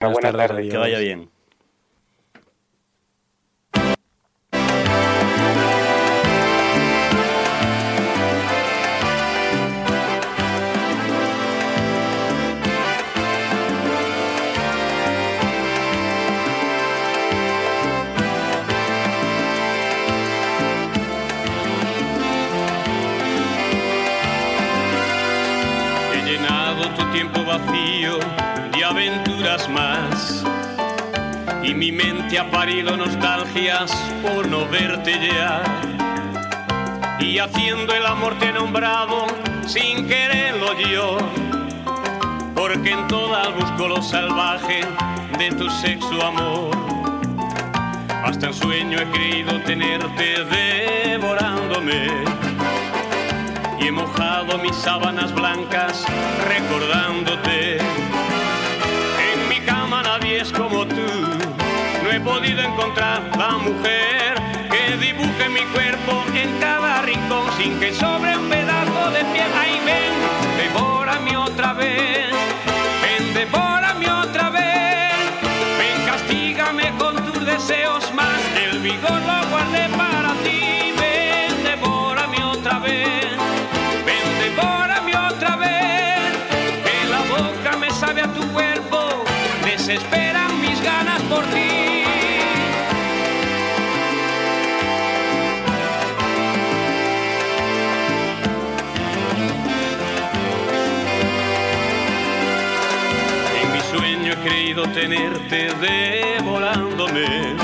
Buenas tardes, Que vaya bien. He llenado tu tiempo vacío de aventuras más, y mi mente ha parido nostalgias por no verte ya, y haciendo el amor te he nombrado sin quererlo yo, porque en todas busco lo salvaje de tu sexo amor. Hasta en sueño he creído tenerte devorándome, y he mojado mis sábanas blancas recordándote. En mi cama nadie es como tú, no he podido encontrar la mujer que dibuje mi cuerpo en cada rincón sin que sobre un pedazo de piel. Ay, ven, devórame otra vez, ven, devórame otra vez, ven, castígame con tus deseos más, que el vigor lo guardé para ti. Ven, devórame otra vez, ven, devórame otra vez, que la boca me sabe a tu cuerpo, desesperan mis ganas por ti. En mi sueño he creído tenerte devorándome,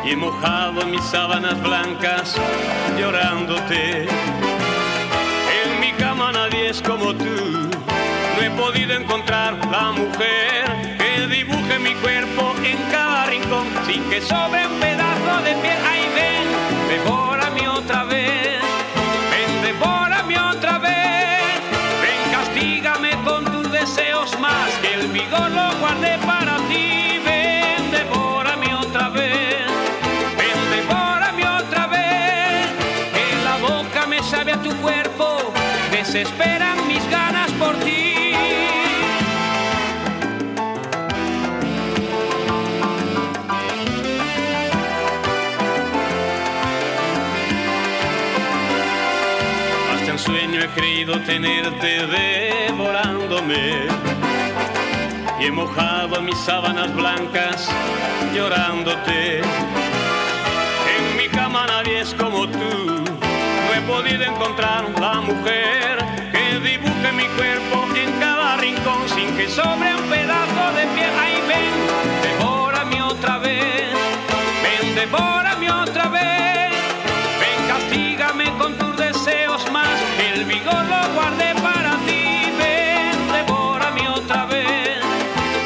y he mojado mis sábanas blancas llorándote. En mi cama nadie es como tú, no he podido encontrar la mujer que dibuje mi cuerpo en cada rincón sin que sobre un pedazo de piel. Ay, ven, devórame otra vez, ven, devórame otra vez, ven, castígame con tus deseos más, que el vigor lo guardé para ti. Ven, devórame otra vez, ven, devórame otra vez, que la boca me sabe a tu cuerpo, desesperan mis ganas por ti. Hasta en sueño he creído tenerte devorándome, y he mojado mis sábanas blancas llorándote. En mi cama nadie es como tú, no he podido encontrar la mujer que dibuje mi cuerpo en cada rincón sin que sobre un pedazo de piel. Ay, ven, devórame otra vez, ven, devórame otra vez, ven, castígame con tus deseos más, que el vigor lo guardé para ti. Ven, devórame otra vez,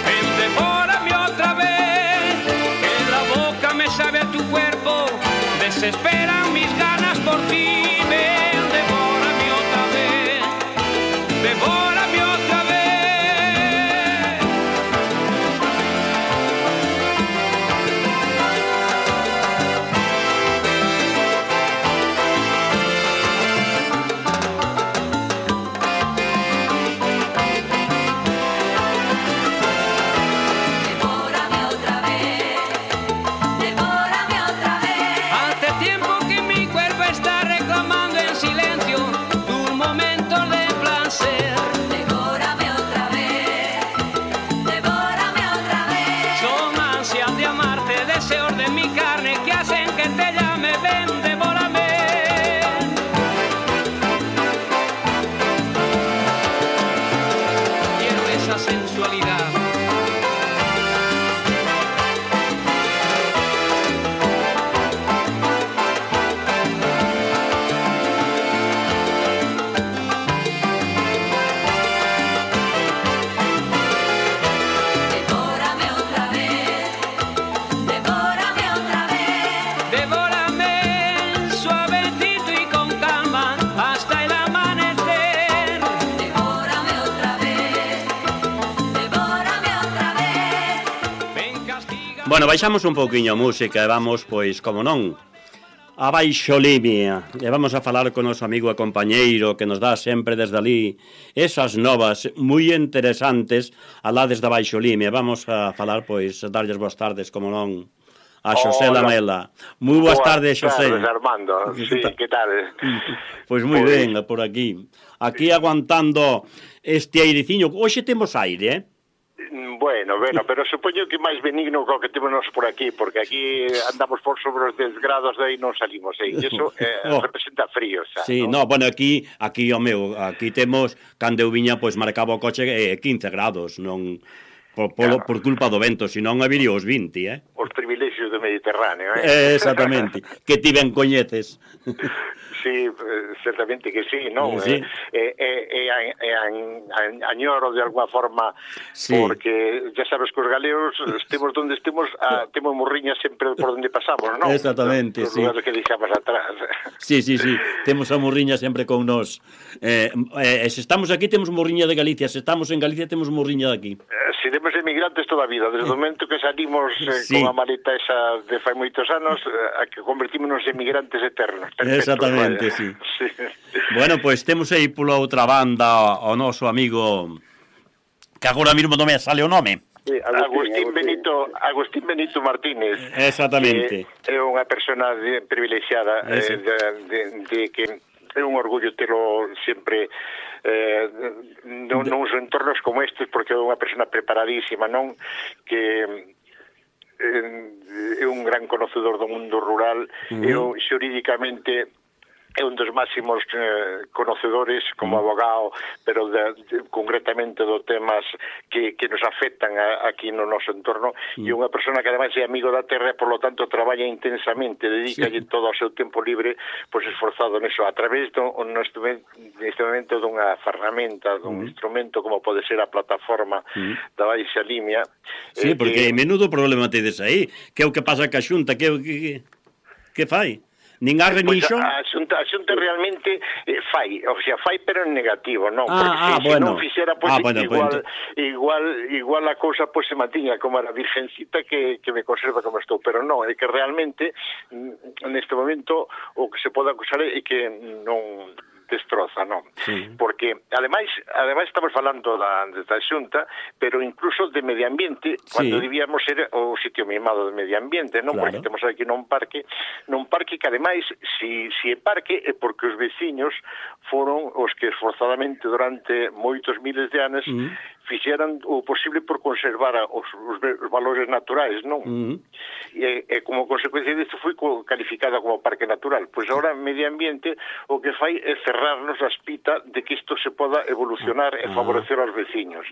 ven, devórame otra vez, que la boca me sabe a tu cuerpo, desesperan mis ganas por ti. Ven, devórame otra vez, devórame otra vez. Devórame otra vez, devórame otra vez. Hace tiempo que mi cuerpo está reclamando en silencio tu momento de placer. Devórame otra vez, devórame otra vez. Son ansias de amarte, deseos de mi carne que hacen que te llame. Ven, devórame. Quiero esa sensualidad. Devórame otra vez, devórame otra vez. Devórame suavecito y con calma hasta el amanecer. Devórame otra vez, devórame otra vez. Ven, castiga. Bueno, baixamos un pouquiño a música e vamos, pois, como non, a Baixolimia. E vamos a falar con o noso amigo e compañeiro que nos dá sempre desde ali esas novas moi interesantes alá desde Baixolimia. Vamos a falar, pois, darlles boas tardes, como non, a Xosé Lamela. Moi boas tardes, Xosé. Boas tardes, Armando. Sí, que tal? Pois moi ben, por aquí. Aquí aguantando este aireciño. Hoxe temos aire, Bueno, pero supoño que máis benigno co que temos por aquí, porque aquí andamos por sobre os 10 grados, de aí non salimos, e iso representa frío, xa, sí, ¿no? Bueno, aquí, aquí temos, cando eu viña, pois marcaba o coche 15 grados, non por culpa do vento, senón habería os 20, Os privilexios do Mediterráneo, Exactamente, que ti ben coñeces. Sí, certamente que sí, non? Sí. Añoro de alguna forma, sí. Porque ya sabes que os galegos estemos donde estemos, temos morriñas sempre por donde pasamos, non? Exactamente, Os sí. lugares que deixamos atrás. Sí, temos a morriña sempre con nós. Se estamos aquí temos morriña de Galicia, se estamos en Galicia temos morriña de aquí. Seremos emigrantes toda a vida, desde o momento que salimos sí. con a maleta esa de fai moitos anos, a que convertímonos en emigrantes eternos. Exactamente. Sí. Bueno, pois temos aí pola outra banda o noso amigo que agora mesmo non me sale o nome. Sí, Agustín Benito Martínez. Exactamente. É unha persona privilexiada de que é un orgullo telo sempre nos entornos como estes, porque é unha persona preparadísima, non? Que é un gran conocedor do mundo rural, e xurídicamente é un dos máximos conocedores como abogado, pero concretamente dos temas que nos afectan aquí no noso entorno, e unha persona que ademais é amigo da terra, por lo tanto traballa intensamente, dedícalle todo o seu tempo libre, pois esforzado neso, a través neste momento dunha ferramenta, dun instrumento como pode ser a plataforma da Baixa Limia. Sí, porque menudo problema tedes aí, que é o que pasa ca Xunta, que fai? Nin arre nin xo? A xunta realmente fai pero en negativo, non? Porque se non fixera, pois igual a cousa pois se mantiña como a virgencita que me conserva como estou, pero non, é que realmente neste momento o que se pode acusar é que non destroza, non? Sí. Porque ademais estamos falando da Xunta, pero incluso de medio ambiente, cando debíamos ser o sitio mimado de medio ambiente, non? Claro. Porque temos aquí nun parque que ademais, se é parque, é porque os veciños foron os que esforzadamente durante moitos miles de anos fixeran o posible por conservar os valores naturais, non? E como consecuencia disto foi calificada como parque natural. Pois agora medio ambiente o que fai é cerrarnos a espita de que isto se poda evolucionar e favorecer aos veciños.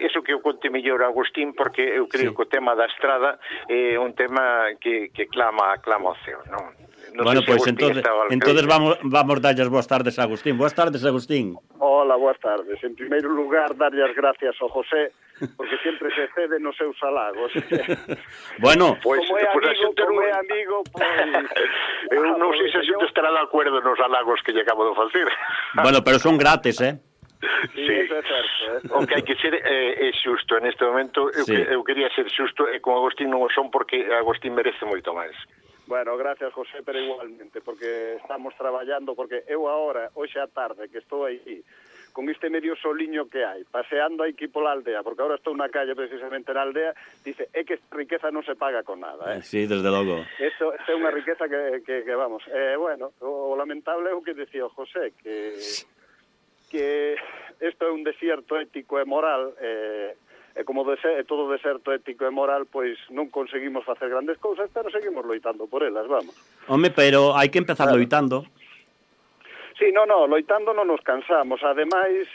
Eso que eu conte mellor a Agustín, porque eu creo que o tema da estrada é un tema que clama ao ceo, non? Bueno, pois entonces vamos darlle as boas tardes a Agustín. Boas tardes, Agustín. Hola, boas tardes. En primeiro lugar, darlle as gracias ao José, porque sempre se cede nos seus halagos. Bueno, como é amigo, pois... Eu non sei se a xente estará de acordo nos halagos que lle acabo de facer. Bueno, pero son gratis, Sí, eso é certo. O que hai que ser é xusto. En este momento eu quería ser xusto, e con Agustín non o son, porque Agustín merece moito máis. Bueno, gracias, José, pero igualmente, porque estamos traballando, porque eu agora, hoxe á tarde, que estou aí, con este medio soliño que hai, paseando aquí pola aldea, porque agora estou na calle precisamente na aldea, dice, é que esta riqueza non se paga con nada, Sí, desde logo. Isto é unha riqueza que vamos, bueno, o lamentable é o que decía o José, que isto é un desierto ético e moral, e como todo deserto ético e moral, pois non conseguimos facer grandes cousas, pero seguimos loitando por elas, vamos. Home, pero hai que empezar loitando. Sí, loitando non nos cansamos. Ademais,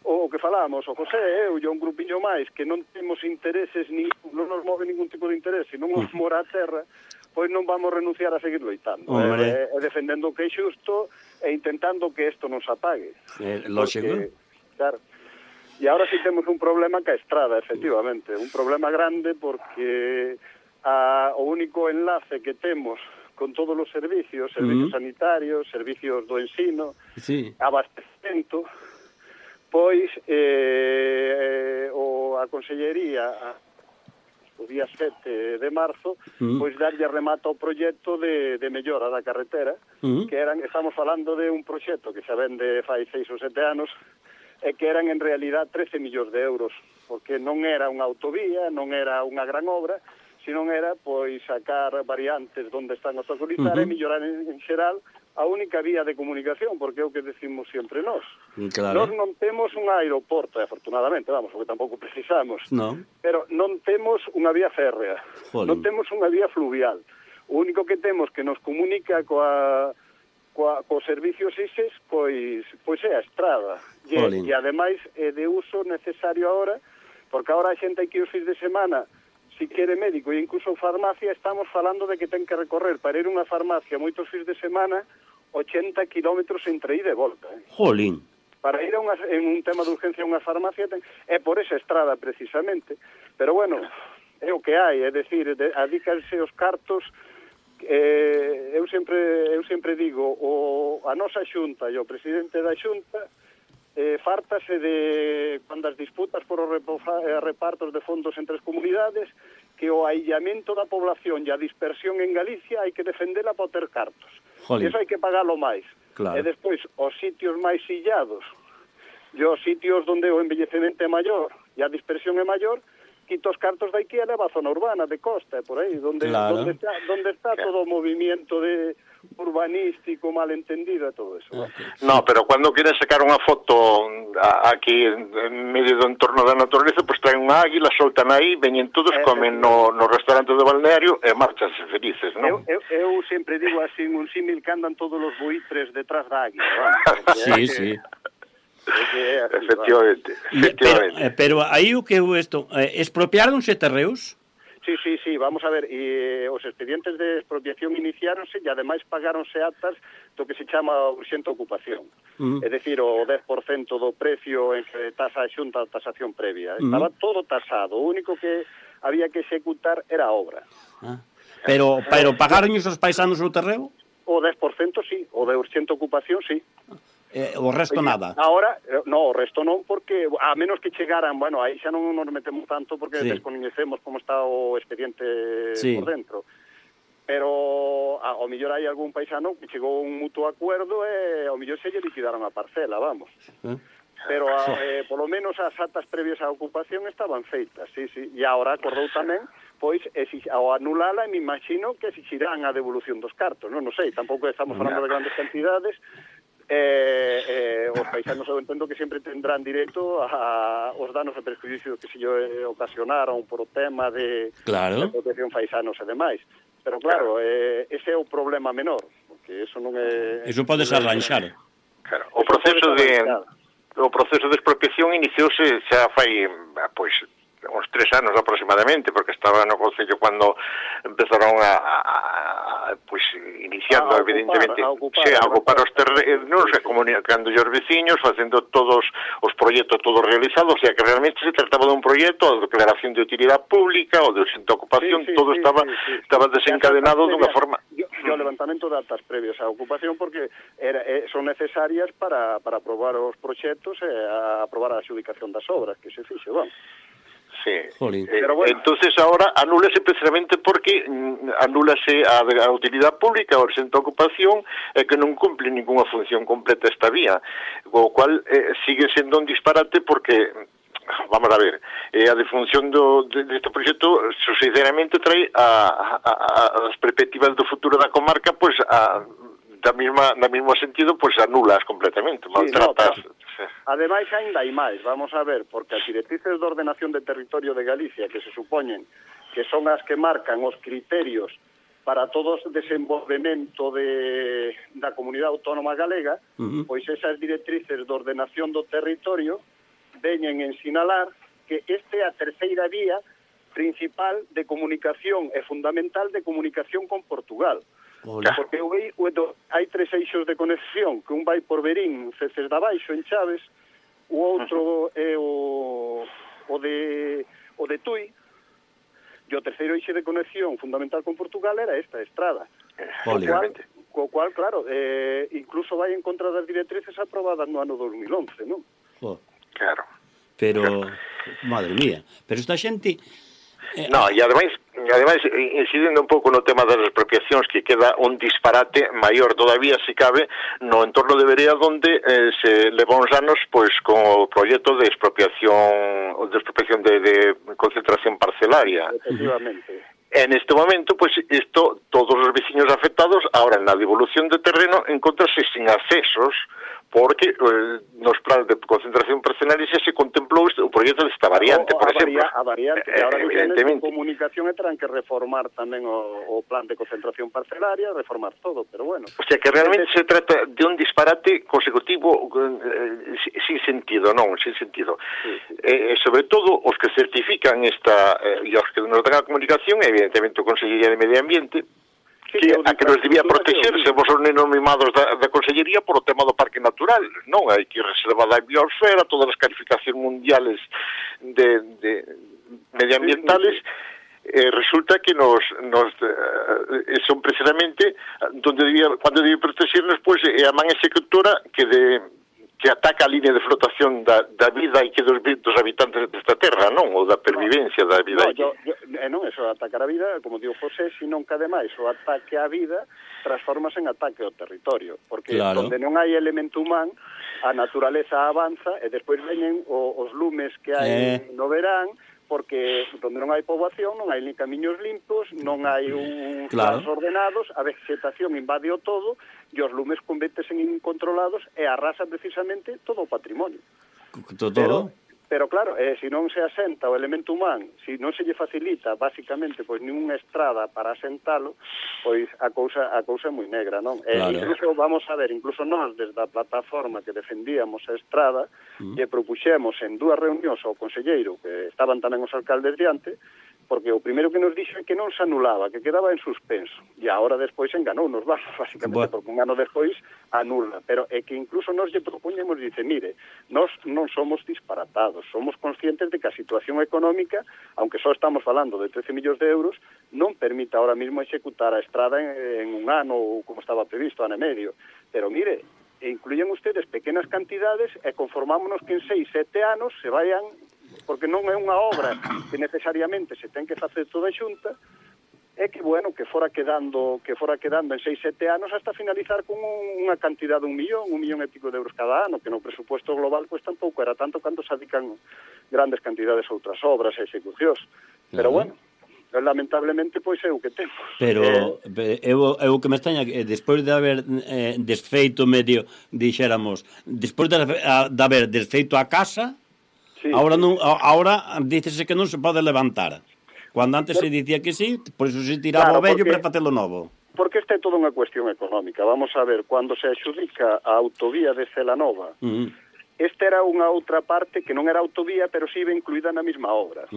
o que falamos, o José e eu, un grupiño máis, que non temos intereses, non nos move ningún tipo de interés, se non nos mora a terra, pois non vamos renunciar a seguir loitando. E defendendo o que é xusto e intentando que isto non se apague. Lógico. Claro. E agora sí temos un problema ca estrada, efectivamente, un problema grande, porque o único enlace que temos con todos os servicios sanitarios, servicios do ensino, abastecemento, pois a Consellería o día 7 de marzo, pois darlle remata ao proxecto de mellora da carretera, que estamos falando de un proxecto que xa vende fai 6 ou 7 anos, e que eran en realidad 13 millóns de euros, porque non era unha autovía, non era unha gran obra, sino era pois sacar variantes onde están os obstaculizar e mellorar en xeral a única vía de comunicación, porque é o que decimos sempre nós. Claro. Nós non temos un aeroporto, afortunadamente, vamos, porque tampouco precisamos, pero non temos unha vía férrea, non temos unha vía fluvial. O único que temos que nos comunica cos servicios ISES, pois é a estrada. E ademais é de uso necesario ahora, porque ahora a xente hai que ir os fins de semana, si quere médico e incluso farmacia, estamos falando de que ten que recorrer para ir a unha farmacia moitos fins de semana 80 kilómetros entre ida e volta. Jolín. Para ir en un tema de urgencia a unha farmacia é por esa estrada precisamente. Pero bueno, é o que hai, é dicir, adícanse os cartos. Eu sempre digo, a nosa xunta e o presidente da xunta fártase de cando as disputas por os repartos de fondos entre as comunidades, que o aillamento da población e a dispersión en Galicia hai que defendela para ter cartos. Eso hai que pagalo máis. E despois, os sitios máis illados e os sitios onde o envellecemento é maior e a dispersión é maior, quita os cartos de aquí e leva a zona urbana de costa, por aí, donde está todo o movimiento urbanístico, malentendido e todo eso. No, pero cando queren sacar unha foto aquí en medio do entorno da naturaleza, pois traen unha águila, soltan aí, veñen todos, comen no restaurante do balneario e marchanse felices, non? Eu sempre digo así, un símil que andan todos os buitres detrás da águila, Sí. Efectivamente. Pero aí o que expropiáronse terreos? Sí, vamos a ver, e os expedientes de expropiación iniciáronse e ademais pagáronse actas do que se chama urxente ocupación. É dicir, o 10% do precio en que tasa a xunta a tasación previa. Estaba todo tasado, o único que había que executar era a obra. Pero pagaron os paisanos o terreo? O 10% sí, o de urxente ocupación sí. O resto nada. Ahora, o resto non, porque a menos que chegaran, bueno, aí xa non nos metemos tanto porque descoñecemos como está o expediente por dentro. Pero ao mellor hai algún paisano que chegou a un mutuo acuerdo e ao mellor se lle liquidaron a parcela, vamos. Pero polo menos as actas previas á ocupación estaban feitas, sí. E agora acordou tamén, pois, ao anulala, me imagino que exixirán a devolución dos cartos, non sei, tampouco estamos falando de grandes cantidades. Os paisanos eu entendo que sempre tendrán direito aos danos e perjuicios que se ocasionaron por o tema de protección paisanos e demais. Pero claro, ese é o problema menor, porque eso non é... Eso podes arranxar. Claro, o proceso de expropiación iniciouse xa fai, pois, uns 3 anos aproximadamente, porque estaba no Concello cando empezaron pois iniciando evidentemente a ocupar os terrenos, comunicando os veciños, facendo todos os proxectos todos realizados, o sea que realmente se trataba de un proxecto, a declaración de utilidade pública ou de urxente ocupación, todo estaba desencadenado dunha forma. O levantamento de actas previas á ocupación, porque son necesarias para aprobar os proxectos e aprobar a adxudicación das obras que se fixe, vamos. Sí. Pero bueno. Entonces ahora anúlase precisamente porque anúlase a utilidade pública, a urxente ocupación, que non cumple ninguna función completa esta vía, o cual sigue sendo un disparate porque, vamos a ver, a defunción deste proxecto sinceramente trae as perspectivas do futuro da comarca, pois na mesmo sentido, pois anulas completamente, maltratas. Ademais, ainda hai máis, vamos a ver, porque as directrices de ordenación de territorio de Galicia, que se supoñen que son as que marcan os criterios para todo o desenvolvemento da comunidade autónoma galega, pois esas directrices de ordenación do territorio veñen en sinalar que este é a terceira vía principal de comunicación e fundamental de comunicación con Portugal. Porque hai 3 eixos de conexión, que un vai por Verín, Ceces da Baixo, en Chaves, o outro é o de Tui, e o terceiro eixe de conexión fundamental con Portugal era esta estrada. Co cual, claro, incluso vai en contra das directrices aprobadas no ano 2011, non? Claro. Pero, madre mía, pero esta xente... No, e ademais, incidindo un pouco no tema das expropiacións, que queda un disparate maior todavía, se cabe, no entorno de Verea, donde se levou uns anos pois con o proxecto de expropiación de concentración parcelaria. Efectivamente. En este momento, pues todos os veciños afectados, ahora na devolución de terreno, encontrase sin accesos, porque nos planes de concentración parcelaria xa se contemplou o proxecto desta variante, por exemplo. A variante, que ahora evidentemente comunicación e terán que reformar tamén o plan de concentración parcelaria, reformar todo, pero bueno. O sea, que realmente se trata de un disparate consecutivo sin sentido, non, sin sentido. Sí. Sobre todo, os que certifican esta, e os que nos dan a comunicación, evidentemente o Consellería de Medio Ambiente, que a que nos debía protegerse vos os nenos mimados da Consellería por o tema do Parque Natural, non? Hai que reservar a biosfera, todas as calificacións mundiales de medioambientales, resulta que son precisamente cuando debía protegernos, pois é a man executora que ataca a línea de flotación da vida e que dos habitantes desta terra, non? Ou da pervivencia da vida. Non, eso, atacar a vida, como digo José, senón que ademais o ataque á vida transformase en ataque ao territorio, porque onde non hai elemento humán, a naturaleza avanza e despois veñen os lumes que hai no verán, porque onde non hai poboación, non hai ni camiños limpos, non hai uns planos ordenados, a vegetación invade o todo, e os lumes convéntesen en incontrolados e arrasan precisamente todo o patrimonio. Todo. Pero claro, se non se asenta o elemento humán, se non se lle facilita, basicamente, pois ninguna estrada para asentalo, pois a cousa é moi negra, non? Incluso, vamos a ver, incluso nós, desde a plataforma que defendíamos a estrada, lle propuxemos en 2 reunións ao conselleiro, que estaban tamén os alcaldes diante, porque o primeiro que nos dixo é que non se anulaba, que quedaba en suspenso, e agora despois enganounos, basicamente, porque un ano despois anula, pero é que incluso nos lle propoñemos, dice, mire, nós non somos disparatados, somos conscientes de que a situación económica, aunque só estamos falando de 13 millóns de euros, non permite ahora mismo executar a estrada en un ano, ou como estaba previsto, ano e medio, pero mire, incluyen ustedes pequenas cantidades e conformámonos que en 6, 7 anos se vayan, porque non é unha obra que necesariamente se ten que facer toda xunta, é que, bueno, que fora quedando en 6, 7 anos hasta finalizar con unha cantidad de 1 millón e pico de euros cada ano, que no presupuesto global pues tampouco era tanto cando se adican grandes cantidades a outras obras e execucións. Pero bueno, lamentablemente pois é o que temos. Pero é o que me extraña que despois de haber desfeito medio, dixéramos, despois de haber desfeito a casa, ahora dícese que non se pode levantar. Cando antes se dicía que sí, por iso se tiraba o vello para facelo novo. Porque esta é toda unha cuestión económica. Vamos a ver, cando se adxudica a autovía de Celanova, esta era unha outra parte que non era autovía, pero sí iba incluída na mesma obra.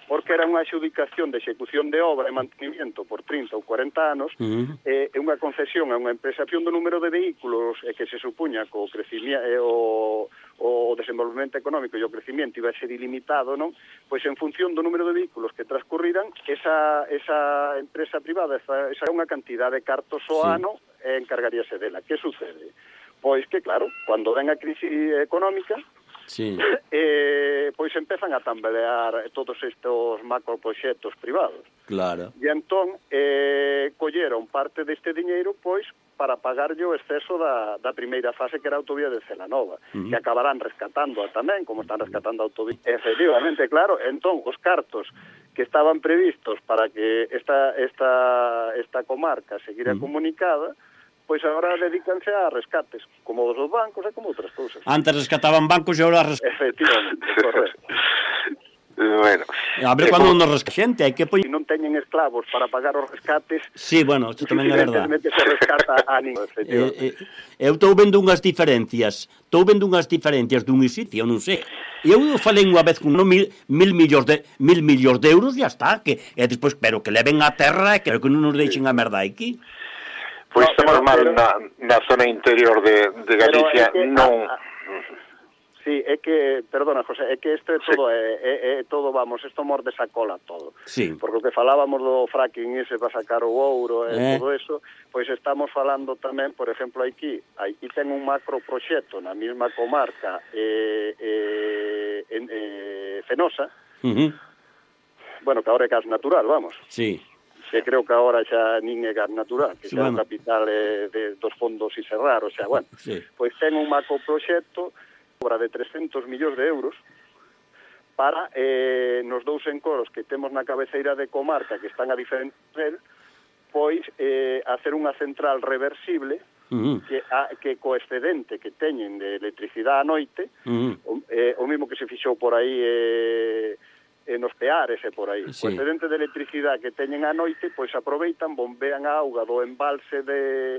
Porque era unha adxudicación de execución de obra e mantenimiento por 30 ou 40 anos, e unha concesión a unha empresación do número de vehículos que se supuña que o crecimiento o desenvolvemento económico e o crecimiento iba a ser ilimitado, non? Pois en función do número de vehículos que transcurriran, esa empresa privada, esa é unha cantidad de cartos ao ano e encargaríase dela. Que sucede? Pois que, claro, cando ven a crise económica, pois empezan a tambalear todos estes macroproxectos privados. Claro. E entón, colleron parte deste diñeiro, pois, para pagarlle o exceso da primeira fase, que era a autovía de Celanova, que acabarán rescatando tamén, como están rescatando a autovía. Efectivamente, claro, entón, os cartos que estaban previstos para que esta comarca seguira comunicada, pois agora dedícanse a rescates, como os dos bancos e como outras cousas. Antes rescataban bancos e agora efectivamente, correcto. Bueno, a ver cando nos rescata xente, hai que non teñen esclavos para pagar os rescates. Sí, bueno, isto tamén é verdade. Se rescata a ninguén, efectivamente. Eu estou vendo unhas diferencias dun sitio, non sei. Eu falei unha vez con mil millóns de euros e está, que e despois, pero que leven a terra e que non nos deixen a merda aquí. Pois estamos mal na zona interior de Galicia, non... Sí, é que, perdona, José, é que isto é todo, é todo, vamos, isto morde esa cola todo. Sí. Porque o que falábamos do fracking ese para sacar o ouro e todo eso, pois estamos falando tamén, por exemplo, aquí ten un macroproxecto na mesma comarca Fenosa, bueno, que agora é gas natural, vamos. Sí. Que creo que agora xa nin é gas natural, que xa o capital dos fondos Iserrar, o sea, bueno, pois ten un macroproxecto obra de 300 millóns de euros para nos dous encoros que temos na cabeceira de comarca que están a diferente nivel, pois hacer unha central reversible que co excedente que teñen de electricidade a noite, o mismo que se fixou por aí nos Peares e por aí. O excedente de electricidade que teñen a noite, pois aproveitan, bombean a auga do embalse de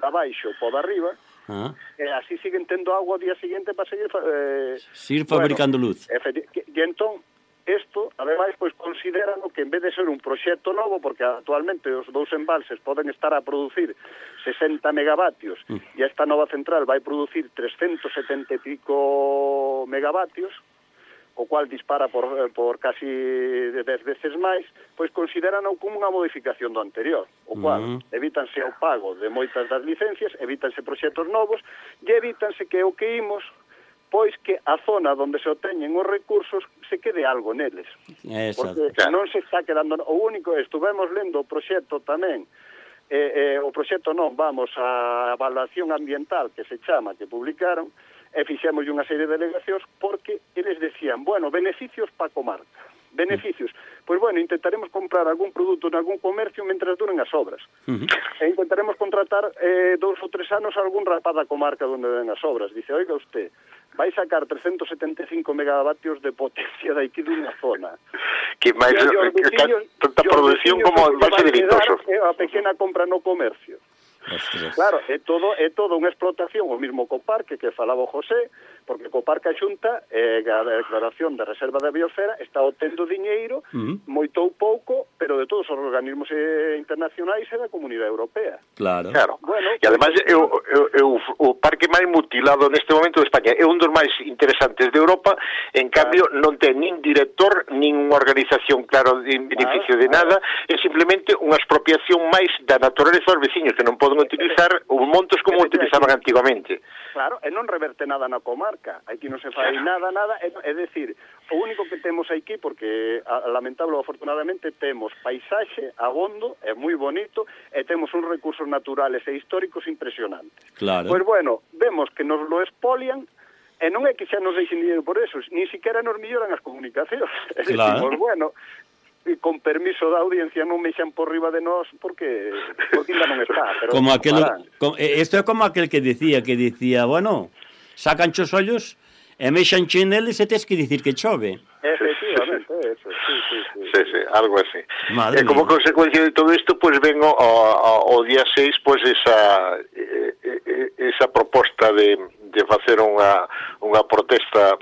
abaixo po de arriba, e así siguen tendo agua ao día seguinte para seguir fabricando luz. E entón, isto, ademais, pois consideran que en vez de ser un proxecto novo, porque actualmente os dous embalses poden estar a producir 60 megavatios e esta nova central vai producir 370 e pico megavatios, o cual dispara por casi 10 veces máis, pois consideran como unha modificación do anterior, o cual evítanse o pago de moitas das licencias, evítanse proxectos novos e evítanse que o que imos pois que a zona onde se obteñen os recursos se quede algo neles. Porque non se está quedando... O único, estuvemos lendo o proxecto tamén, o proxecto non, vamos, a evaluación ambiental que se chama, que publicaron, e fixemos unha serie de delegacións porque eles decían, bueno, beneficios para a comarca. Beneficios. Pois, bueno, intentaremos comprar algún produto en algún comercio mentras duren as obras. E intentaremos contratar 2 ou 3 anos a algún rapaz da comarca onde den as obras. Dice, oiga usted, vai sacar 375 megavatios de potencia daqui dunha zona. Que máis tanta produción como vai ser delitoso. A pequena compra no comercio. Claro, é todo unha explotación, o mismo co parque que falaba o José, porque co parque a Xunta, a declaración de reserva da biosfera, está obtendo diñeiro, moito ou pouco, pero de todos os organismos internacionais e da Comunidade Europea. Claro. Bueno, e ademais o parque máis mutilado neste momento de España é un dos máis interesantes de Europa, en cambio non ten nin director, nin unha organización claro de beneficio de nada, é simplemente unha expropiación máis da naturaleza dos veciños que non poden utilizar os montos como utilizaban antigamente. Claro, e non reverte nada na comarca. Aquí non se fai nada, é decir, o único que temos aquí, porque lamentable ou afortunadamente temos paisaxe, abondo, é moi bonito, e temos uns recursos naturales e históricos impresionantes. Claro. Pois bueno, vemos que nos lo expolian, e non é que xa nos deixen dinheiro por eso, ni siquiera nos melloran as comunicacións. Claro. Decimos, bueno, con permiso da audiencia non me xan por riba de nós porque ainda non está, pero como isto é como aquel que dicía, bueno, sacan os ollos e mexan chineles e tes que dicir que chove. Efectivamente, eso, sí, algo así. E como consecuencia de todo isto, pois ven ao día 6, pois esa proposta de facer unha protesta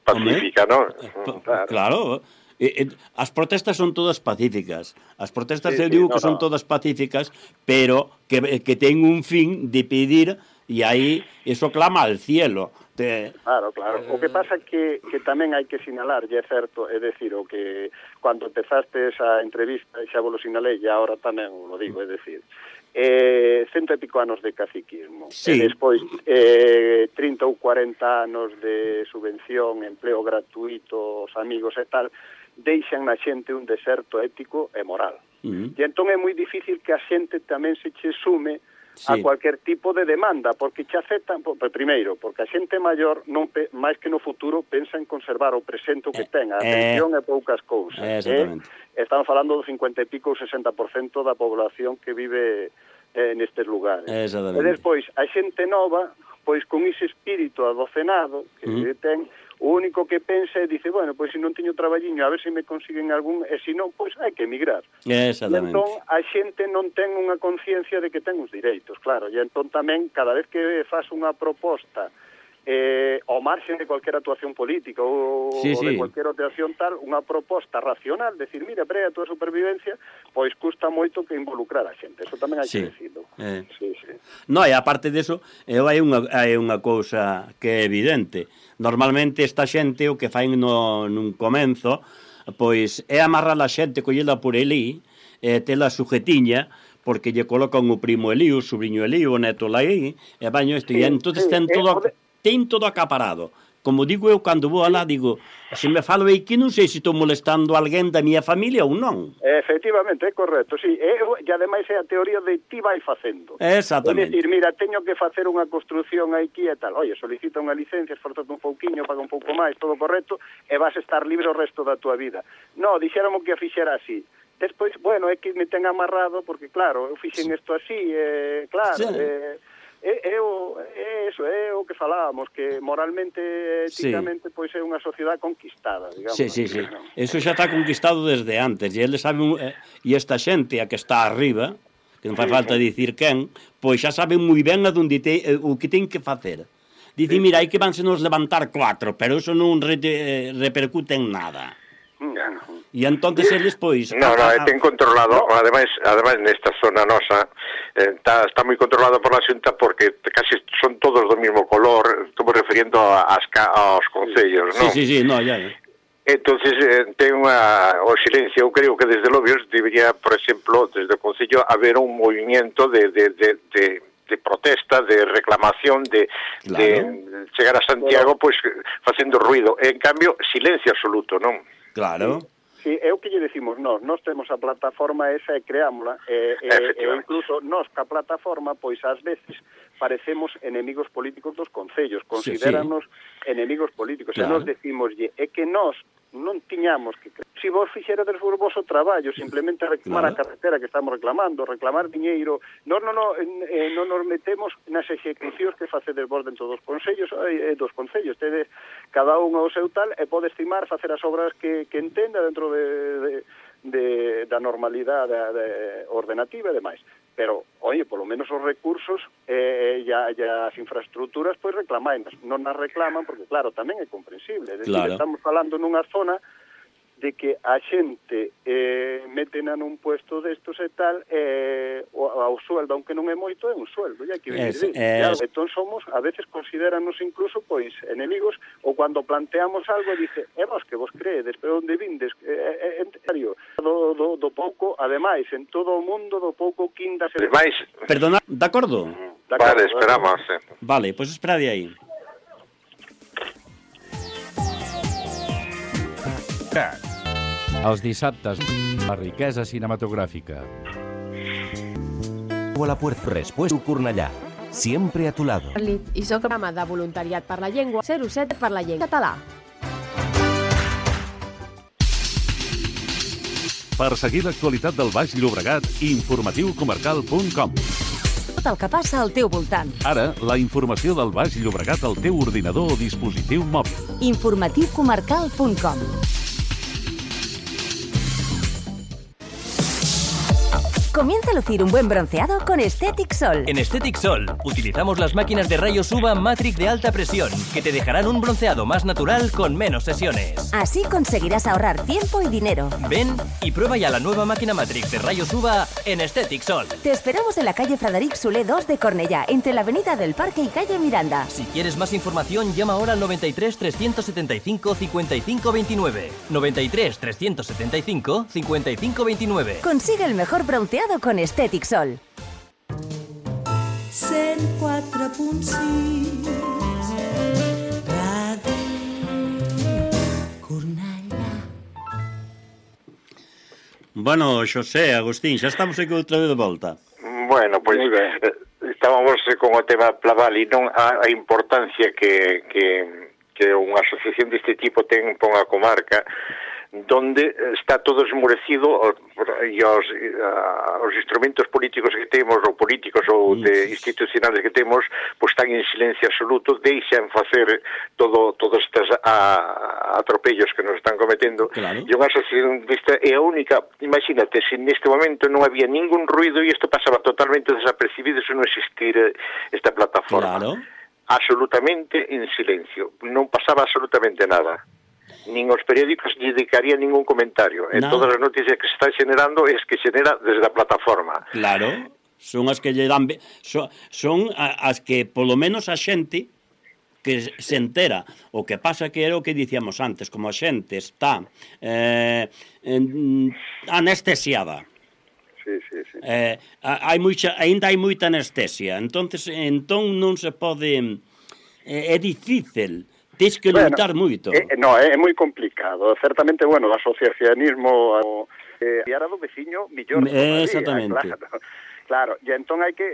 pacífica, non? Claro. As protestas son todas pacíficas. As protestas eu digo que son todas pacíficas, pero que ten un fin de pedir, e aí eso clama al cielo. Claro. O que pasa que tamén hai que sinalar, e é certo, é decir, o que cando empezaste esa entrevista, xa vos lo sinalei, e agora tamén lo digo, é decir, 100 e pico anos de caciquismo, e despois 30 ou 40 anos de subvención, empleo gratuito, os amigos e tal, deixan na xente un deserto ético e moral. E entón é moi difícil que a xente tamén se che sume a cualquier tipo de demanda, porque che aceptan, primeiro, porque a xente maior non máis que no futuro pensa en conservar o presente que ten, a atención e poucas cousas. Estamos falando do 50 e pico ou 60% da población que vive nestes lugares. E despois, a xente nova, pois con ese espírito adocenado que ten, o único que pensa é, dice, bueno, pois se non teño traballiño, a ver se me consiguen algún, e se non, pois hai que emigrar. Exactamente. E entón, a xente non ten unha conciencia de que ten os direitos, claro, e entón tamén, cada vez que faz unha proposta ao marxen de cualquier actuación política ou de cualquier actuación tal, unha proposta racional, decir, mira, pre a túa supervivencia, pois custa moito que involucrar a xente, eso tamén hai que decirlo. No, e aparte deso, hai unha cousa que é evidente. Normalmente esta xente o que fai nun comenzo, pois é amarrar a xente, collela por elí, tela sujetiña, porque lle colocan o primo elí, o sobrinho elí, o neto lá aí, e baño isto, e entón ten todo acaparado. como digo eu, cando vou alá, digo, se me falo aquí, non sei se estou molestando a alguén da miña familia ou non. Efectivamente, é correcto, sí. E ademais é a teoría de ti vai facendo. Exactamente. É dicir, mira, teño que facer unha construción aquí e tal. Oye, solicita unha licencia, esforzate un pouquiño, paga un pouco máis, todo correcto, e vas a estar libre o resto da tua vida. No, dixéramos que a fixera así. Despois, bueno, é que me ten amarrado, porque claro, eu fixen isto así, claro, sí. É o que falábamos, que moralmente, éticamente, pois é unha sociedade conquistada, digamos. Sí. Eso xa está conquistado desde antes, e eles saben, e esta xente a que está arriba, que non fai falta dicir quen, pois xa saben moi ben o que ten que facer. Dicen, mira, hai que vanse nos levantar 4, pero eso non repercute en nada. E entonces eles, pois... No, ten controlado, ademais nesta zona nosa, está moi controlado por la Xunta porque casi son todos do mesmo color, estou referindo aos concellos, non? Sí, no, ya. Entonces, ten o silencio, eu creo que desde Lobios debería, por exemplo, desde o Concello, haber un movimiento de protesta, de reclamación, de chegar a Santiago, pois, facendo ruido. En cambio, silencio absoluto, non? Claro. Sí, é o que lle decimos nós temos a plataforma esa e creámola, e incluso nós ca plataforma, pois ás veces parecemos enemigos políticos dos concellos, considéranos enemigos políticos, claro. E nós decimoslle, é que nós non tiñamos que... Si vos fixerades o vosso traballo, simplemente reclamar a carretera que estamos reclamando, reclamar diñeiro, non nos metemos nas execucións que facedes vos dentro dos concellos, tedes cada un ao seu tal, e pode estimar facer as obras que entenda dentro da normalidade ordenativa e demais. Pero, oye, polo menos os recursos e as infraestructuras, pois reclamainas. Non as reclaman porque, claro, tamén é comprensible. É dicir, estamos falando nunha zona de que a xente metena nun puesto destos e tal, ao sueldo, aunque non é moito, é un sueldo, ya que claro, entón somos, a veces considéranos incluso, pois, enemigos, ou cando planteamos algo, dice, vos que vos creedes, pero onde vindes, en serio, do pouco, ademais, en todo o mundo, do pouco quinda... Perdona, de acordo? Vale, esperamos. Vale, pois espera de aí. Els dissabtes, la riquesa cinematográfica. A la puerta, Respuesta Cornellà. Siempre a tu lado. I soc programa de voluntariat per la llengua 07 per la llengua català. Per seguir l'actualitat del Baix Llobregat, informatiucomarcal.com. Tot el que passa al teu voltant. Ara, la informació del Baix Llobregat al teu ordinador o dispositiu mòbil. informatiucomarcal.com. Comienza a lucir un buen bronceado con Aesthetic Sol. En Aesthetic Sol utilizamos las máquinas de rayos UVA Matrix de alta presión que te dejarán un bronceado más natural con menos sesiones. Así conseguirás ahorrar tiempo y dinero. Ven y prueba ya la nueva máquina Matrix de rayos UVA en Aesthetic Sol. Te esperamos en la calle Frederic Solé 2 de Cornellà, entre la avenida del Parque y calle Miranda. Si quieres más información, llama ahora al 93 375 55 29. 93 375 55 29. Consigue el mejor bronceado con Aesthetic Sol. 104.6 Radio Cornellà. Bueno, Xosé, Agustín, xa estamos aquí outra vez de volta. Bueno, pois estábamos con o tema Plaval e non a importancia que unha asociación deste tipo ten pon a comarca, donde está todo esmorecido e os instrumentos políticos que temos, ou políticos ou institucionales que temos, pois están en silencio absoluto, deixan facer todos estes atropellos que nos están cometendo. E unha asociación desta é a única, imagínate, se neste momento non había ningún ruido e isto pasaba totalmente desapercibido se non existir esta plataforma. Absolutamente en silencio, non pasaba absolutamente nada. Nin os periódicos lle dedicarían ningún comentario. En todas as noticias que se están generando es que xenera desde a plataforma. Claro, son as que lle dan... Son as que, polo menos, a xente que se entera. O que pasa que era o que dicíamos antes, como a xente está anestesiada. Sí. Ainda hai moita anestesia. Entón non se pode... É difícil Tens que lutar moito. No, é moi complicado. Certamente, bueno, o asociacionismo e ara do veciño millor todavía. Exactamente. Claro, e entón hai que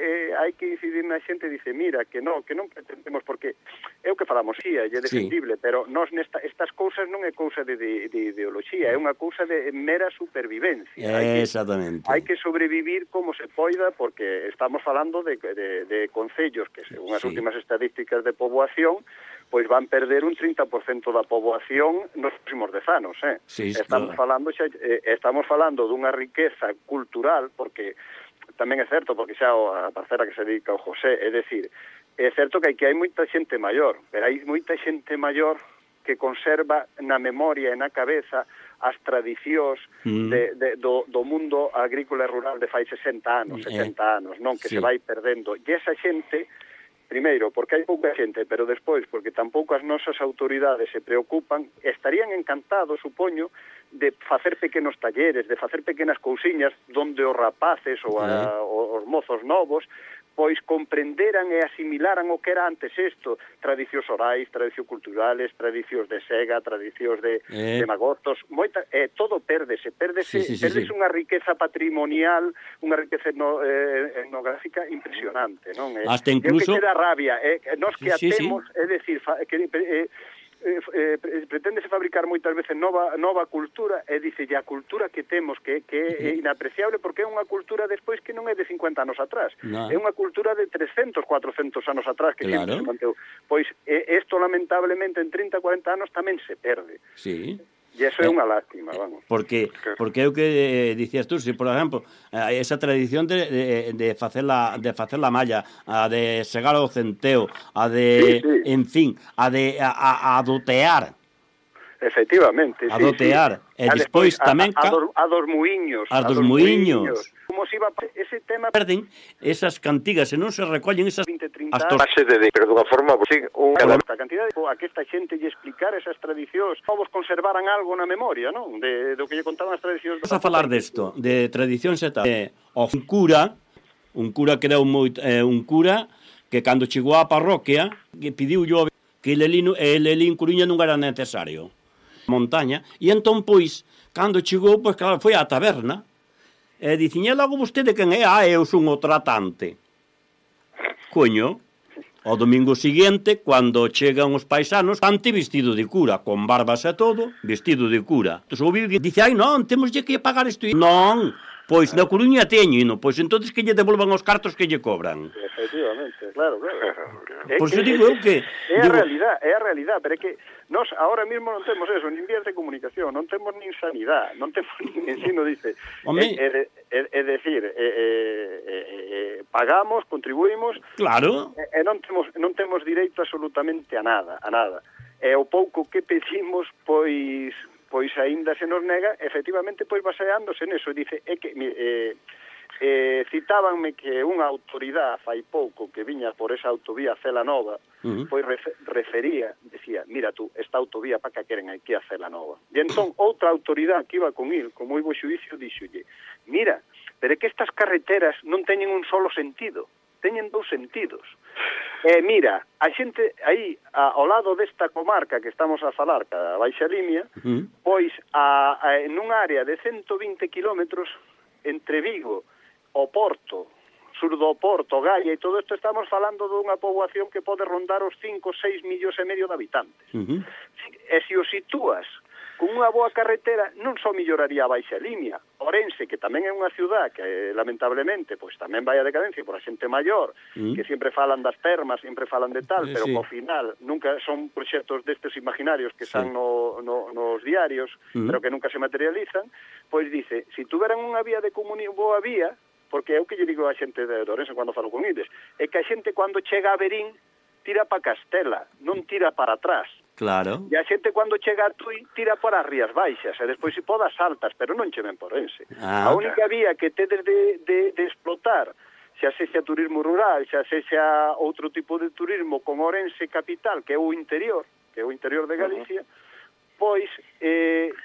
incidir na xente e dice, mira, que non pretendemos, porque é o que falamos, sí, é defendible, pero nós estas cousas non é cousa de ideoloxía, é unha cousa de mera supervivencia. Exactamente. Hai que sobrevivir como se poida, porque estamos falando de concellos que, según as últimas estadísticas de poboación, pois van perder un 30% da poboación nos próximos 10 anos, Sí, estamos falando dunha riqueza cultural, porque tamén é certo, porque xa a parcela que se dedica ao José, é dicir, é certo que hai moita xente maior, pero hai moita xente maior que conserva na memoria e na cabeza as tradicións do mundo agrícola e rural de fai 60 anos, 70 anos, non? Que se vai perdendo. E esa xente, primeiro, porque hai pouca xente, pero despois, porque tampouco as nosas autoridades se preocupan, estarían encantados, supoño, de facer pequenos talleres, de facer pequenas cousiñas donde os rapaces ou os mozos novos pois comprenderan e asimilaran o que era antes isto, tradicións orais, tradicións culturales, tradicións de sega, tradicións de magostos, todo pérdese unha riqueza patrimonial, unha riqueza etnográfica impresionante, non? Hasta incluso... que da rabia, nós que atemos, é dicir, preténdese fabricar moitas veces nova cultura, e dice, a cultura que temos que é inapreciable, porque é unha cultura despois que non é de 50 anos atrás, é unha cultura de 300, 400 anos atrás que sempre se manteu. Pois isto lamentablemente en 30, 40 anos tamén se perde. Sí. E iso é unha lástima, vamos. Porque é o que dicías tú, se, por exemplo, esa tradición de facer la malla, a de segar o centeo, a de, en fin, a dotear. Efectivamente, a dotear. E despois tamén... A dos muiños. A dos muiños. Como se iba ese tema... Perden esas cantigas, e non se recollen esas... 20, 30 anos. Pero dunha forma... A cantidad a que esta xente lle explicar esas tradicións, povos conservaran algo na memoria, non? Do que lle contaban as tradicións... Vamos a falar desto, de tradicións e tal. Un cura que era un cura que cando chegou á parroquia, que pediu yo que ele en Coruña non era necesario. Montaña, e entón, pois, cando chegou, pois, claro, foi á taberna, e diciñe, logo vostede quen é? Eu son o tratante. Coño, o domingo seguinte, cando chegan os paisanos, tante vestido de cura, con barbas e todo, vestido de cura. Entón, ouviu que dice, non, temos que pagar isto. Non, pois, na Coruña teño, pois, entonces que lle devolvan os cartos que lle cobran. Efectivamente, claro. Por iso digo eu que... É a realidade, pero é que nós ahora mismo non temos eso, nin vías de comunicación, non temos nin sanidade, non temos nin ensino, dice. É decir, pagamos, contribuímos, claro, e non temos direito absolutamente a nada. E o pouco que pedimos, pois aínda se nos nega, efectivamente, pois baseándose neso, dice, é que... citábanme que unha autoridade fai pouco que viña por esa autovía Cela Nova, pois decía, mira tú, esta autovía para que queren aquí a Cela Nova. E entón outra autoridade que iba con il, con moi bo xuízo, díxolle, mira, pero é que estas carreteras non teñen un solo sentido, teñen dous sentidos. Mira, a xente aí, ao lado desta comarca que estamos a falar, a Baixa Limia, pois nunha área de 120 kilómetros entre Vigo, o Porto, sur do Porto, Gaia e todo isto, estamos falando dunha poboación que pode rondar os 5, 6 millóns e medio de habitantes. E se o sitúas con unha boa carretera, non só melloraría a Baixa Limia, Ourense, que tamén é unha ciudad que, lamentablemente, pois tamén vai a decadencia por a xente maior, que sempre falan das termas, sempre falan de tal, pero ao final nunca son proxectos destes imaginarios que están nos diarios, pero que nunca se materializan, pois dice, se tuveran unha vía de boa vía, porque é o que lle digo a xente de Ourense cando falo con eles, é que a xente cando chega a Verín tira para Castela, non tira para atrás. Claro. E a xente cando chega a Tui tira para as Rías Baixas, e despois se podas altas, pero non che ven por Ourense. A única vía que tedes de explotar, xa sexa turismo rural, xa sexa outro tipo de turismo con Ourense capital, que é o interior de Galicia, pois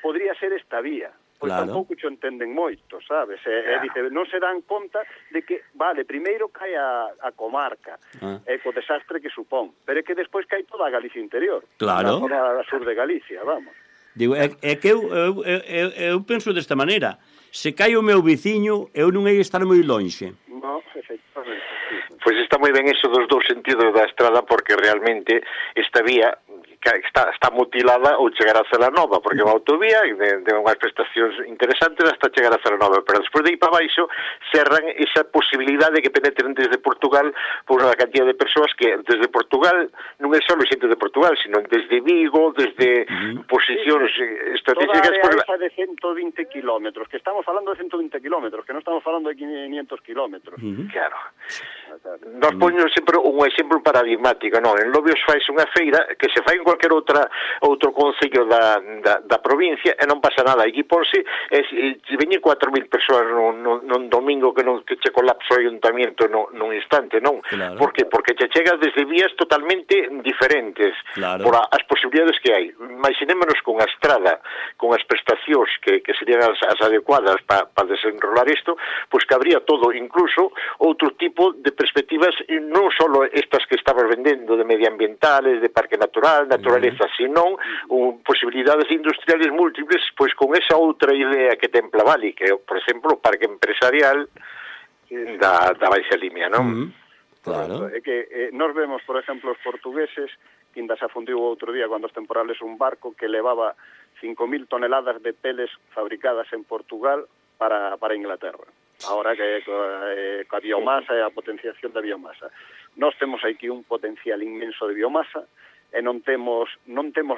podría ser esta vía. Pois tampouco xo entenden moito, sabes? Dice, non se dan conta de que vale, primeiro cae a comarca, co desastre que supón, pero é que despois cae toda a Galicia interior, claro, toda a sur de Galicia, vamos. Digo, é que eu penso desta maneira, se cae o meu viciño, eu non hei estar moi lonxe. No, efectivamente. Pois está moi ben eso dos dous sentidos da estrada, porque realmente esta vía está mutilada ou chegar a Celanova, porque é unha autovía de unhas prestacións interesantes hasta chegar a Celanova, pero despois de ir para baixo cerran esa posibilidade de que penetren desde Portugal por unha cantidad de persoas que desde Portugal non é só xente de Portugal, sino desde Vigo, desde posicións estratégicas. Toda a área de 120 kilómetros, que estamos falando de 120 kilómetros, que non estamos falando de 500 kilómetros. Claro. Nos poño sempre un exemplo paradigmático, non? En Lobios fais unha feira que se fai en cualquier outro concello da provincia e non pasa nada. Aquí ponse, veñen 4.000 persoas nun domingo que che colapso o ayuntamiento nun instante, non? Claro. Por que? Porque che chegas desde vías totalmente diferentes, claro, por as posibilidades que hai. Imaginémonos con a estrada, con as prestacións que serían as adecuadas para desenrolar isto, pois que habría todo, incluso outro tipo de perspectivas, non só estas que estamos vendendo de medioambientales, de parque natural, naturaleza, senón posibilidades industriales múltiples, pois con esa outra idea que ten Plavali, que é, por exemplo, o parque empresarial da Baixa Limia, non? Claro. É que nos vemos, por exemplo, os portugueses, que ainda se afundiu outro día cando os temporales un barco que levaba 5.000 toneladas de peles fabricadas en Portugal para Inglaterra. Ahora que a biomasa e a potenciación da biomasa. Nós temos aquí un potencial inmenso de biomasa e non temos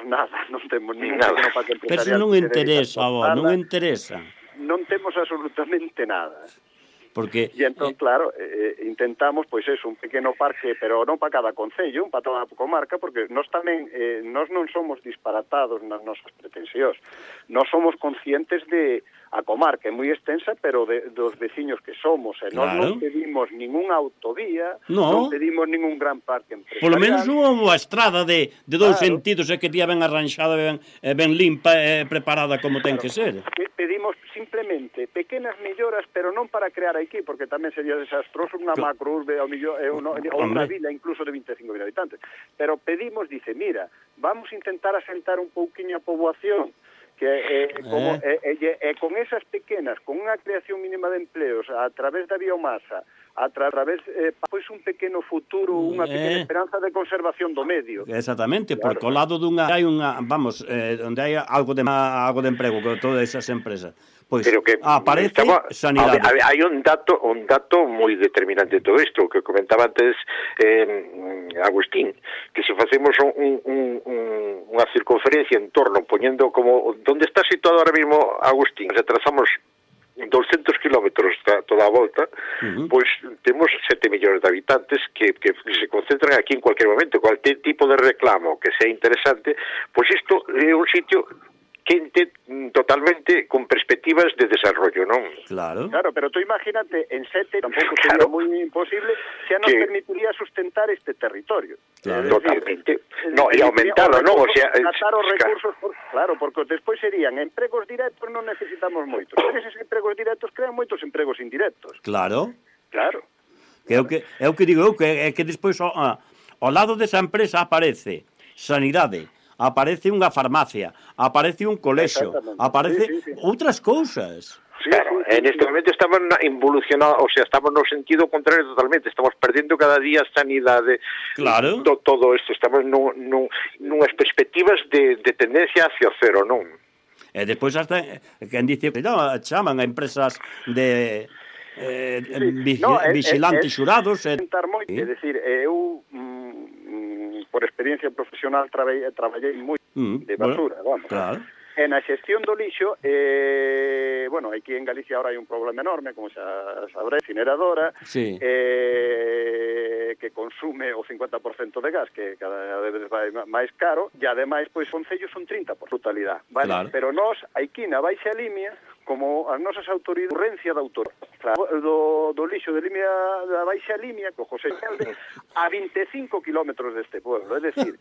nada, non temos ningún parque empresarial. Pero non interesa, non interesa. Non temos absolutamente nada. Porque E entón, claro, intentamos, pois un pequeno parque, pero non para cada concello, para toda a comarca, porque nós tamén, nós non somos disparatados nas nosas pretensións. Nós somos conscientes de a comarca é moi extensa, pero dos veciños que somos, e nós non pedimos ninguna autovía, non pedimos ningún gran parque empresarial. Por lo menos unha estrada de dous sentidos, é que tía ben arranxada, ben limpa e preparada como ten que ser. Pedimos simplemente pequenas melloras, pero non para crear aquí, porque tamén sería desastroso unha macrourbe ou unha vila incluso de 25.000 habitantes. Pero pedimos, dice, mira, vamos a intentar asentar un pouquiño a poboación, que con esas pequenas, con unha creación mínima de empleos a través da biomasa, a través pois un pequeno futuro, unha pequena esperanza de conservación do medio. Exactamente, claro, porque ao lado dunha hai unha, vamos, onde hai algo de emprego con todas esas empresas. Pois aparece sanidade. Hai un dato moi determinante de todo isto, que comentaba antes Agustín, que se facemos unha circunferencia en torno, poñendo como onde está situado ahora mismo Agustín, se trazamos 200 kilómetros toda a volta, pois temos 7 millóns de habitantes que se concentran aquí en cualquier momento, cualquier tipo de reclamo que sea interesante, pois isto é un sitio quente totalmente con perspectivas de desarrollo, non? Claro, pero tú imagínate, en 7 tampouco sería moi imposible, xa nos permitiría sustentar este territorio. Claro, totalmente. No, e aumentalo, non? O sea, tratar os recursos, claro, porque despois serían empregos directos, non necesitamos moitos. Pero eses empregos directos crean moitos empregos indirectos. Claro. Claro. É o que digo eu, que despois ao lado desa empresa aparece sanidade, aparece unha farmacia, aparece un colexio, aparece outras cousas. Claro, en este momento estamos involucionados, o sea, estamos no sentido contrario totalmente, estamos perdendo cada día sanidade, todo isto, estamos nunhas perspectivas de tendencia hacia o cero, non? E despois hasta, quen dice, chaman a empresas de vigilantes xurados. É dicir, eu por experiencia profesional traballei moito de basura, vamos. Claro. E na xestión do lixo, aquí en Galicia ahora hai un problema enorme, como xa sabré, incineradora, que consume o 50% de gas, que cada vez vai máis caro, e ademais, pois, concellos son 30 por totalidade, vale? Claro. Pero nós, aquí na Baixa Limia, como as nosas autoridades, urgencia da autor do lixo de Limia, da Baixa Limia, co José Alde, a 25 kilómetros deste pueblo, é decir,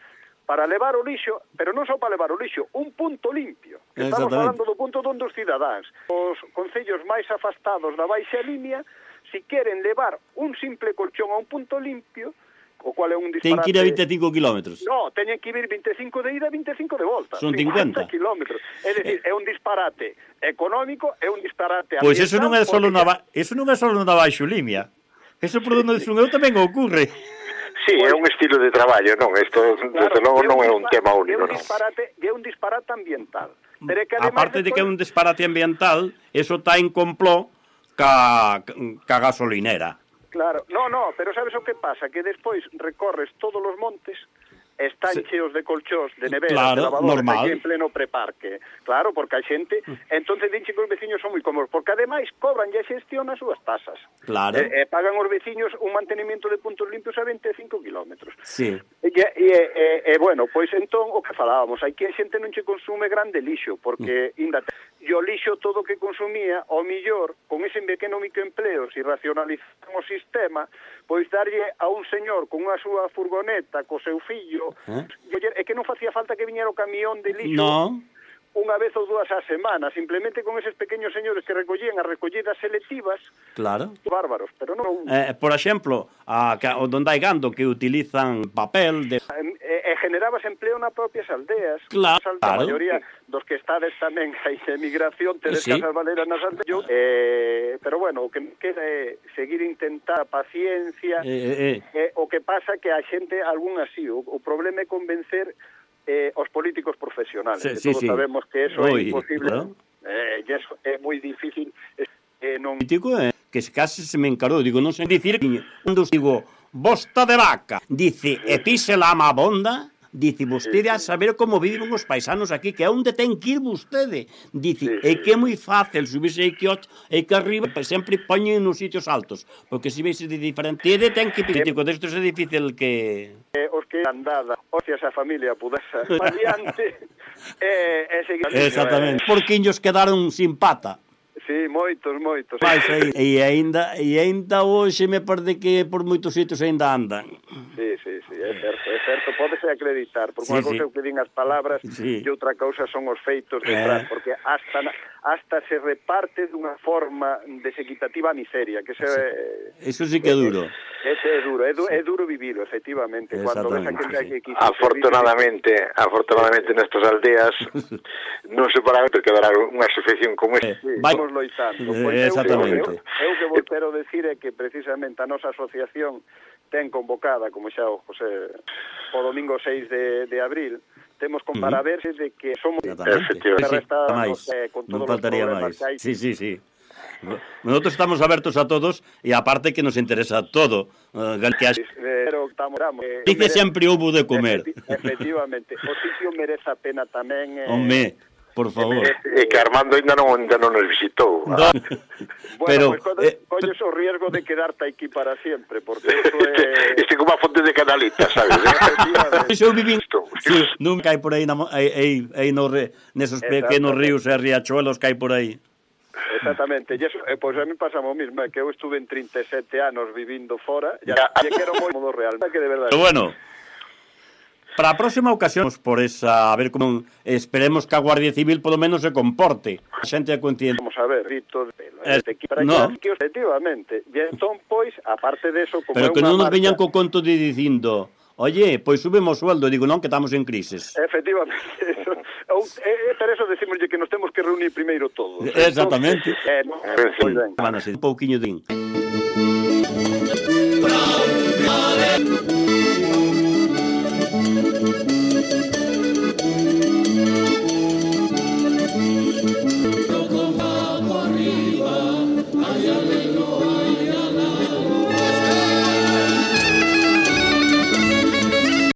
para levar o lixo, pero non só para levar o lixo, un punto limpio. Estamos falando do punto onde os cidadáns, os concellos máis afastados da baixa línea, si queren levar un simple colchón a un punto limpio, o cual é un disparate... Ten que ir a 25 kilómetros. No, teñen que ir 25 de ida e 25 de volta. Son 50 kilómetros. É dicir, é un disparate económico, é un disparate ambiental... Pois eso non é só na baixolimia. Eso por onde son eu tamén ocorre. Sí, é un estilo de traballo, non? Isto, desde logo, non é un tema único, non? É un disparate ambiental. Pero que aparte de que é un disparate ambiental, eso está en complot ca gasolinera. Claro, no, pero sabes o que pasa? Que despois recorres todos os montes, están cheos de colchós, de neveras, claro, de lavadoras, normal. aquí en pleno preparque. Claro, porque a xente, entonces dinche que os veciños son moi cómodos, porque ademais cobran e xestión as súas tasas. Claro. Pagan os veciños un mantenimiento de puntos limpios a 25 kilómetros. Sí. E bueno, pois entón, o que falábamos, hai que a xente non che consume grande lixo, porque e o lixo todo que consumía, ao millor, con ese pequeno microempleo, se racionalizan o sistema, pois darlle a un señor con unha súa furgoneta, co seu fillo, é que non facía falta que viñera o camión de lixo unha vez ou dúas á semana, simplemente con eses pequenos señores que recollían as recollidas selectivas, claro, bárbaros, pero non... por exemplo, onde hai gando que utilizan papel de... generabas empleo nas propias aldeas. Claro. A maioría dos que estades tamén hai emigración, tedes casas baleiras nas aldeas, pero bueno, o que queda é seguir intentar paciencia, o que pasa que a xente, algún así, o problema é convencer os políticos profesionales, que todos sabemos que eso é imposible, claro. E eso é moi difícil. Non... Político que case se me encarou, digo, non sei dicir, cando digo, bosta de vaca, dice, e pise la amabonda, dice, vostede a saber como viven os paisanos aquí, que é onde ten que ir vostede, dice, é que é moi fácil subirse aí que arriba, sempre poñen nos sitios altos, porque se veis de diferente, ten que político, destos é difícil que... Os que andada, hostia, esa familia pudese adiante, seguir... Exactamente, porquiños quedaron sin pata. Sí, moitos. E ainda hoxe me parece que por moitos sitios ainda andan. Sí, é certo, pódese acreditar, porque unha cousa é o que din as palabras e outra cousa son os feitos detrás, porque hasta se reparte dunha forma desequitativa a miseria, que eso sí que é duro. Ese é duro vivilo, efectivamente, cando ves a que Afortunadamente nestas aldeas non se para quedar unha asociación como esta. Vamos loitando. Exactamente. Eu que vos quero decir é que precisamente a nosa asociación ten convocada, como xa o José, o domingo 6 de abril, temos para verse de que somos... Non faltaría máis. Sí. Nosotros estamos abertos a todos e aparte que nos interesa todo. Dice sempre houbo de comer. Efectivamente, o sitio merece a pena tamén... Home, por favor. E que Armando ainda non nos visitou. Bueno, pues colles o riesgo de quedarte aquí para sempre, porque eso é... Este como a fonte de Canalita, sabes? Eu vivín... Nunca hai por aí nesos pequenos ríos e riachuelos que hai por aí. Exactamente, e eso, pois a mí pasa o mismo, que eu estuve en 37 anos vivindo fora, e quero moi modo real, que de verdade. Pero bueno, para a próxima ocasión, por esa, a ver como esperemos que a Guardia Civil polo menos se comporte. A xente é consciente. Vamos a ver, rito de pelo, que efectivamente. E entón, pois, aparte de eso, como pero que non nos veñan co conto de dicindo, oye, pois subemos sueldo, digo, non, que estamos en crisis. Efectivamente, eso. Pero eso decimoslle que nos temos que reunir primeiro todos. Exactamente. Pois ben. Un pouquiño de...